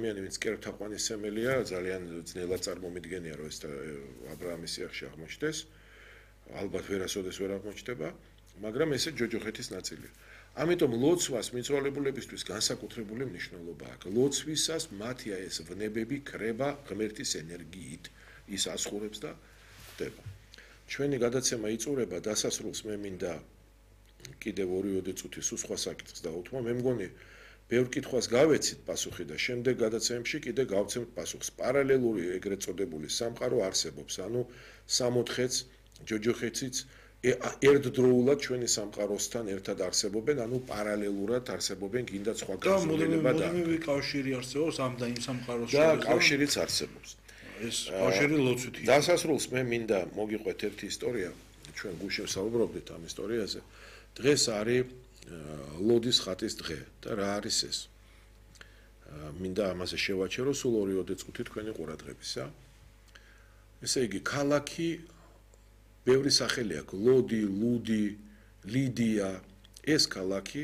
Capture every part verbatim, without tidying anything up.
ადამიანი, ვინც კერპთაყვანისმცემელია, ძალიან ძნელად წარმომიდგენია, რომ ეს აბრაამის სიახში აღმოჩნდეს. ალბათ ვერასოდეს ვერ აღმოჩნდება, მაგრამ ესე ჯოჯოხეთის ნაწილია. ამიტომ ლოცვას მიცვალებულებისთვის განსაკუთრებული მნიშვნელობა აქვს. ლოცვისას მათი ეს ვნებები ქრება ღმერთის ენერგიით, ის ასხურებს და ხდება. ჩვენი გადაცემა იწურება დასასრულს მე მინდა კიდევ ორი-ორი წუთი სულ სხვა საკითხს დავუთმო. მე მგონი ბევრ კითხვას გავეცით პასუხი და შემდეგ გადაცემებში კიდე გავცემთ პასუხს. პარალელური ეგრეთ წოდებული სამყარო არსებობს, ანუ სამოთხეც, ჯოჯოხეთიც ერთდროულად ჩვენი სამყაროსთან ერთად არსებობენ, ანუ პარალელურად არსებობენ, კიდაც სხვა გაზრდილება და მოდივე კავშირი არსებობს ამ და იმ სამყაროს შორის. და კავშირიც არსებობს. ეს კავშირი ლოცვითი. დასასრულს მე მინდა მოგიყვეთ ერთი ისტორია, ჩვენ გუშინ საუბრობდით ამ ისტორიაზე. დღეს არის ლოდის ხატის დღე და რა არის ეს? მინდა ამაზე შევაჩერო სულ ორი-ორი წუთი თქვენი ყურადღებისა. ესე იგი, ქალაქი ბევრი სახელი აქვს: ლოდი, ლუდი, ლიდია. ეს ქალაქი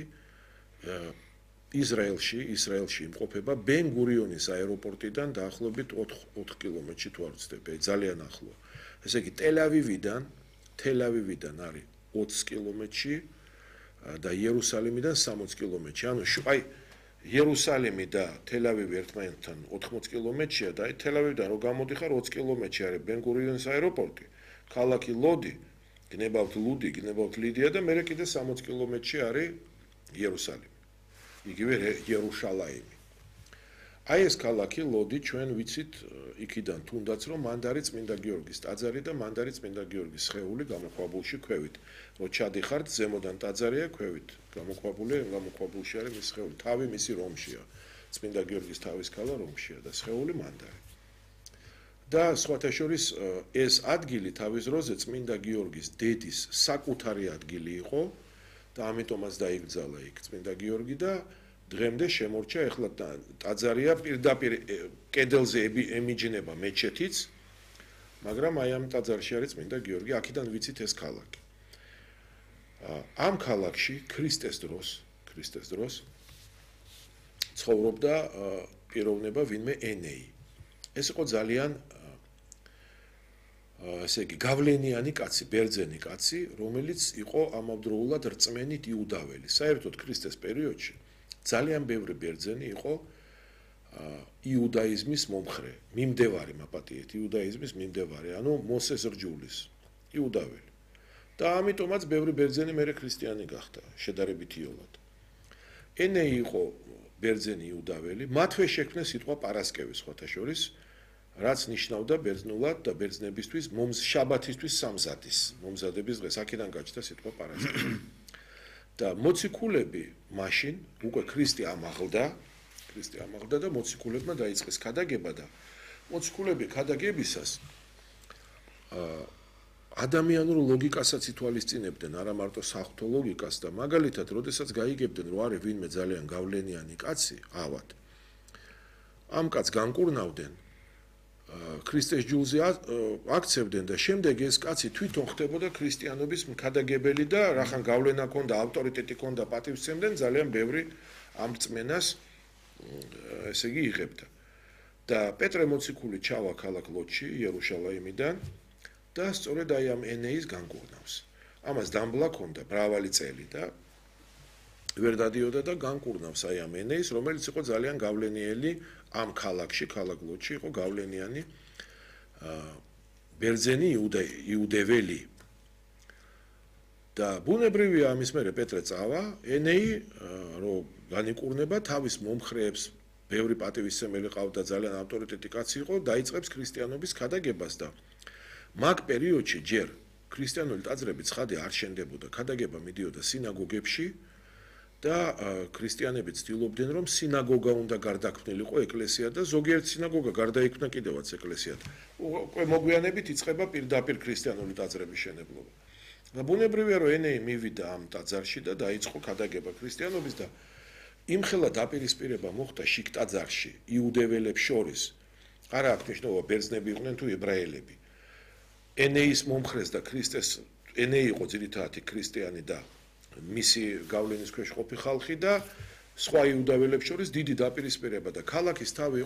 ისრაელში, ისრაელში იმყოფება ბენ-გურიონის აეროპორტიდან დაახლოებით ოთხ კილომეტრში თუ არ ვცდები, ძალიან ახლო. ესე იგი, ტელ-ავივიდან, ტელ-ავივიდან არის ოცი კილომეტრში და იერუსალიმიდან სამოცი კილომეტრში. ანუ აი იერუსალიმი და თელ-ავივი ერთმანეთთან ოთხმოცი კილომეტრია და აი თელ-ავივიდან რო გამოდიხარ ოცი კილომეტრში არის ბენ-გურიონის აეროპორტი. ქალაქი ლოდი, გნებავთ ლუდი, გნებავთ ლიდია და მერე კიდე სამოცი კილომეტრში არის იერუსალიმი. იგივე იერუშალაიმი. აი ეს ქალაქი ლოდი ჩვენ ვიცით იქიდან თუნდაც რომ მანდ არის წმინდა გიორგის ტაძარი და მანდ არის წმინდა გიორგის სხეული გამოქვაბულში ქვევით. რო ჩადიხართ ზემოდან ტაძარია ქვევით. გამოქვაბული, გამოქვაბულში არის მის სხეული. თავი მისი რომშია. წმინდა გიორგის თავის ქალა რომშია და სხეული მანდ არის. და სხვათა შორის ეს ადგილი თავის დროზე წმინდა გიორგის დედის საკუთარი ადგილი იყო და ამიტომაც დაიბრძალა იქ წმინდა გიორგი და დღემდე შემორჩა. ეხლა ტაძარია პირდაპირ კედელზე ემიჯნება მეჩეთიც, მაგრამ აი ამ ტაძარში არის წმინდა გიორგი, აქედან ვიცით ეს ქალაქი. ამ ქალაქში ქრისტეს დროს, ქრისტეს დროს ცხოვრობდა პიროვნება ვინმე ენეი. ეს იყო ძალიან ესე იგი გავლენიანი კაცი, ბერძენი კაცი, რომელიც იყო ამავდროულად რწმენით იუდაველი. საერთოდ ქრისტეს პერიოდში ძალიან ბევრი ბერძენი იყო იუდაიზმის მომხრე, მიმდევარი მაპატიეთ, იუდაიზმის მიმდევარი, ანუ მოსეს რჯულის, იუდაველი. და ამიტომაც ბევრი ბერძენი მერე ქრისტიანი გახდა, შედარებით იოლად. ენეი იყო ბერძენი იუდაველი, მათვე შექმნეს სიტყვა პარასკევი სხვათა შორის, რაც ნიშნავდა ბერძნულად და ბერძნებისთვის შაბათისთვის სამზადის, მომზადების დღეს, აქედან გაჩნდა სიტყვა პარასკევი. და მოციქულები მაშინ უკვე ქრისტე ამაღლდა, ქრისტე ამაღლდა და მოციქულებმა დაიწყეს ქადაგება და მოციქულები ქადაგებისას ადამიანურ ლოგიკასაც ითვალისწინებდნენ, არა მარტო საღვთო ლოგიკას და მაგალითად, როდესაც გაიგებდნენ, რომ არის ვინმე ძალიან გავლენიანი კაცი, ავად. ამ კაცს განკურნავდნენ, ქრისტეს ჯულზე აქცევდნენ და შემდეგ ეს კაცი თვითონ ხდებოდა ქრისტიანობის მქადაგებელი და რახან გავლენა ჰქონდა, ავტორიტეტი ჰქონდა, პატივს სცემდნენ, ძალიან ბევრი ამ რწმენას ესე იგი იღებდა. და პეტრე მოციქული ჩავა ქალაქ ლოდში, იერუშალაიმიდან და სწორედ აი ამ ენეის განკურნავს. ამას დამბლა ჰქონდა მრავალი წელი და ვერ დადიოდა და განკურნავს აი ამ ენეის, რომელიც იყო ძალიან გავლენიერი ამ ქალაქში, ქალაქ ლოდში იყო გავლენიანი ბერძენი იუდეველი. და ბუნებრივია ამის მერე პეტრე წავა, ენეი რო განიკურნება თავის მომხრეებს, ბევრი პატივისცემელი ყავდა, ძალიან ავტორიტეტი კაცი იყო, დაიწყებს ქრისტიანობის ქადაგებას და მაგ პერიოდში ჯერ ქრისტიანული ტაძრები ცხადე არ შენდებოდა, ქადაგება მიდიოდა სინაგოგებში და ქრისტიანები ცდილობდნენ, რომ სინაგოგა უნდა გარდაქმნილიყო ეკლესია და ზოგიერთ სინაგოგა გარდაიქმნა კიდევაც ეკლესიად. უკვე მოგვიანებით იწყება პირდაპირ ქრისტიანული ტაძრების შენებლობა. და ბუნებრივია, რომ ენეი მივიდა ამ ტაძარში და დაიწყო ქადაგება ქრისტიანობის და იმხელა დაპირისპირება მოხდა შიგ ტაძარში იუდეველებს შორის. არა აქვს მნიშვნელობა ბერძნები იყვნენ თუ ებრაელები. ენეის მომხრეს და ქრისტეს ენეი იყო ძირითადად ქრისტიანი და მისი გავლენის ქვეშ ყოფი ხალხი და სხვა იუდაველებს შორის დიდი დაპირისპირება და ქალაქის თავი